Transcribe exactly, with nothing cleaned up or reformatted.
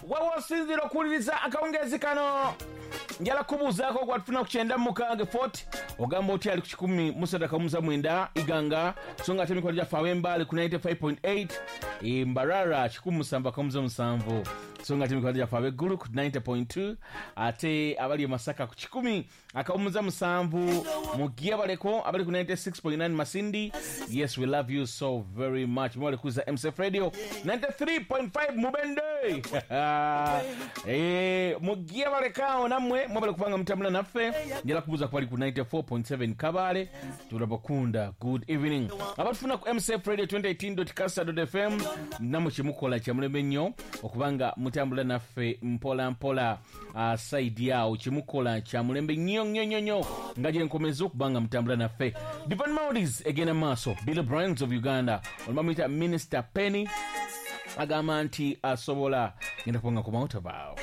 Wawosinzira okuwuliriza akawungeezi kano, njala kubuuzaako gwatufuna ku kyenda mukaaga fort ogamba otya ali ku kikumi musatu akamuza mwenda Iganga, so nga ate emikono gyaffe ab'Embaale ku ninety-five point eight, Mbarara kikumi musanvu akamuza musanvu, so nga ate emikono gyaffe ab'eggulu ku ninety point two, ate abali e Masaka ku kikumi akawumuza musanvu, Mugyebaleko abali ku ninety-six point nine Masindi. Yes, we love you so very much. Mwali kuza M C F Radio ninety-three point five Mubende. Eh, Mugyebalekao nammwe mwabale kupanga mutambula naffe. Njala kubuuza ku bali ku ninety-four point seven Kabale. Tulabakunda. Good evening. Abatufuna ku M C F Radio twenty eighteen dot kasa dot F M, namwe kyemukola kyamulembe nnyo okubanga mutambula naffe mpola mpola. Uh, side yao kyemukola kyamulembe nnyo nnyo nnyo nnyo nga gye nkomeza okubanga mutambula naffe. Divine Melodies egenda maaso. Billy Brands of Uganda olumamuyita Minister Penny agamba nti asobola ngenda kubanga ku mount of Vow.